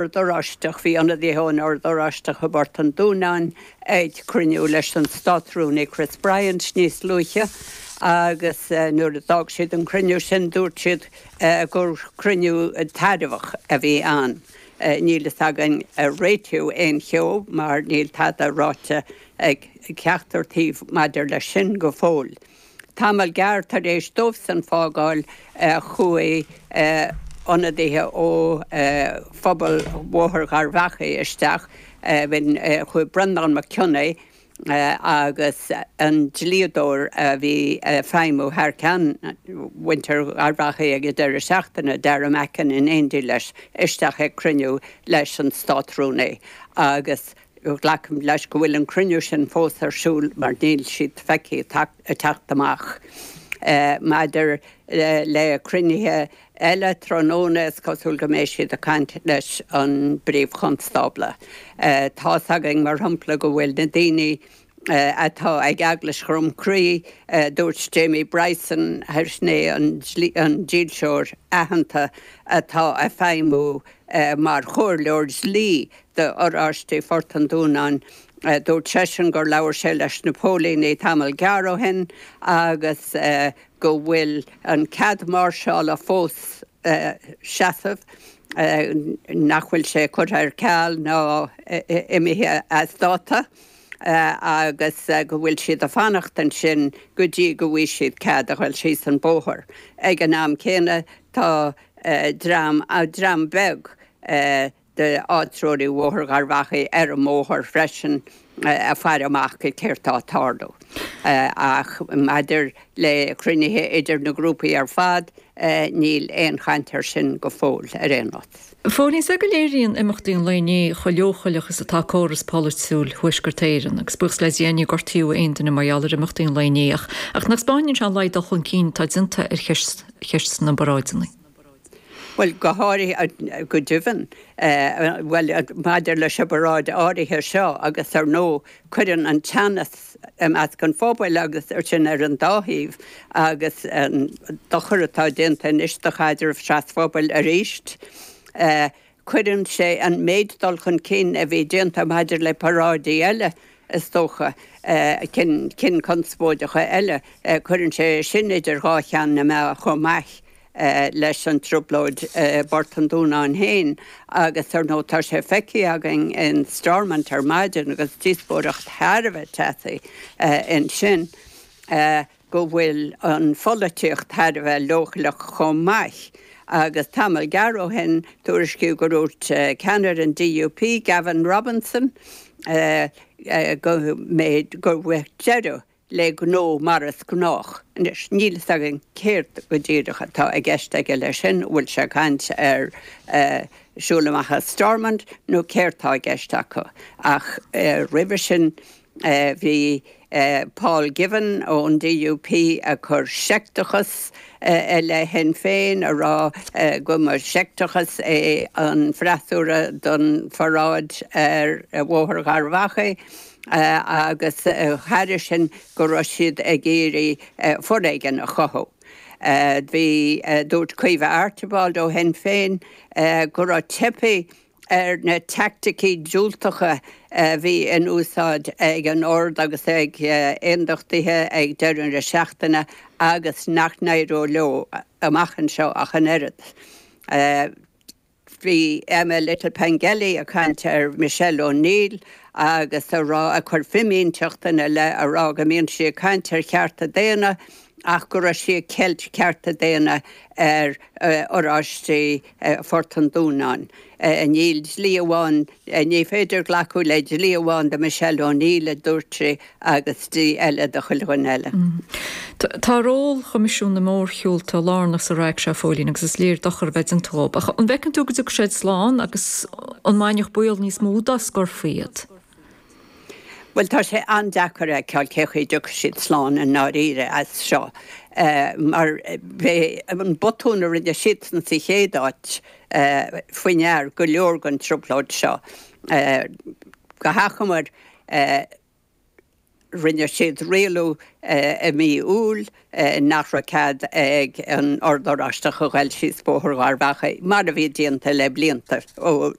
Ord Oráisteach, Bhí ionadaithe ón Ord Oráisteach i bPort an Dúnáin ag cruinniú leis an Státrúnaí Chris Bryant níos luaithe agus nuair a d'fhág siad an cruinniú sin dúirt siad gur cruinniú tairbheach a bhí ann. Níl fhios againn ar réitíodh aon cheo mar níl tada ráite ag ceachtar taobh maidir leis sin go fóill. Tamall gearr tar éis dóibhsan fágáil chuaigh ionadaithe ó phobal Bhóthar Gharbhachaidh isteach, chuaigh Breandán Mac Cionnaith agus an dlíodóir a bhí ag feidhmiú thar ceann mhuintir Gharbhachaidh ag an deireadh seachtaine, Dara Mackin, in éindí leis, isteach ag cruinniú leis an Státrúnaí agus Glacaim leis go bhfuil an cruinniú sin fós ar siúl mar níl siad feicthe ag teacht amach. Maidir le cruinnithe eile tráthnóna, is cosúil go mbeidh siad ag caint leis an bPríomh-Chonstábla. Tá's againn, mar shampla, go bhfuil na daoine atá ag Eaglais Dhroim Crí, dúirt Jamie Bryson, sin é an dílseoir aitheanta atá ag feidhmiú mar chomhairleoir dlí d'Oráistigh Phort an Dúnáin. Dúirt seisean gur labhair sé leis na póilíní tamall gearr ó shin agus go bhfuil an cead máirseála fós seasamh, nach bhfuil sé curtha ar ceal ná imithe as dáta agus go bhfuil siad ag fanacht ansin go dtí go bhfaighidh siad cead a ghoil síos an bóthar. Ag an am céanna tá dream, dream beag, d'áitreoirí Bhóthar Gharbhachaidh ar an mbóthar freisin ag faire amach go céard tá ag tarlú. Ach maidir le cruinnithe idir na grúpaí ar fad, níl aon chaint air sin go fóill ar aon nós. Phóilín, is é go léiríonn imeachtaí an lae inné chomh leochaileach is atá córas polaitiúil Thuaisceart Éireann, agus buíochas le Dia níor gortaíodh aon duine mar gheall ar imeachtaí an lae inné, ach nach 'spáineann sé an laghad dul chun cinn atá déanta ar cheist cheist na bparáideanna. Bhuel, go háirithe, go deimhin, bhuel, maidir leis an bparáid áirithe seo agus ar ndóigh cuireann an teannas i measc an phobail agus sin ar an dá thaobh agus an dochar atá déanta anois do chaidreamh trasphobail arís. Cuireann sé an méid dul chun cinn a bhí déanta maidir le paráidí eile, is dócha, cinn conspóideacha eile, cuireann sé sin idir dhá cheann na meá chomh maith leis an trioblóid i bPort an Dúnáin féin agus ar ndóigh tá sé feicthe againn in Stormont ar maidin agus díospóireacht thar a bheith teasaí ansin go bhfuil an pholaitíocht thar a bheith leochaileach chomh maith agus tamall gearr ó shin tuairiscíodh go ndúirt ceannaire an DUP Gavin Robinson go mbeidh go bhfuil deireadh le gnó mar is gnách. Anois, níl fhios againn céard go díreach atá i gceist aige leis sin, an bhfuil sé ag caint ar siúl amach as Stormont nó céard tá i gceist acu. Ach roimhe sin bhí Paul Givan ón DUP ag cur seicteachas i leith Shinn Féin, ag rá go mba seicteachas é an freasúra don pharáid ar Bhóthar Gharbhachaidh. agus thairis sin go raibh siad ag iarraidh foréigean a chothú. Bhí, dúirt Caoimhe Archibald ó Shinn Féin go raibh teipthe ar na teaicticí diúltacha a bhí in úsáid ag an Ord agus ag aondachtaithe ag deireadh na seachtaine agus nach n-éireodh leo amach anseo ach an oiread. Bhí Emma Little-Pengelly ag caint ar Michelle O'Neill agus a rá, ag cur fimínteacht ina leith, a rá go mbíonn sí ag caint ar chearta daonna ach go raibh sí ag ceilt cearta daonna ar Oráistigh Phort an Dúnáin. Níl dlí amháin, ní féidir glacadh le dlí amháin do Michelle O'Neill, a dúirt sí, agus dlí eile do chuile dhuine eile. Tá ról Choimisiún na Mórshiúlta lárnach sa raic seo, a Phóilín, agus is léir dochar a bheith déanta dhóibh. Ach an bhfeiceann tú go dtiocfaidh siad slán agus an mbainfeadh baol níos mó dá scorfaí iad? Bhuel, tá sé an-deacair a fheiceáil cé chaoi a dtiocfaidh siad slán i ndáiríre as seo mar b'é an botún a rinne siadsan sa chéad áit faoi ndear go leor den trioblóid seo. Go hachomair. Rinne siad rialú i mí Iúil nach raibh cead ag an Ord Oráisteach a ghoil síos Bóthar Gharbhachaidh, mar a bhí déanta le blianta ó.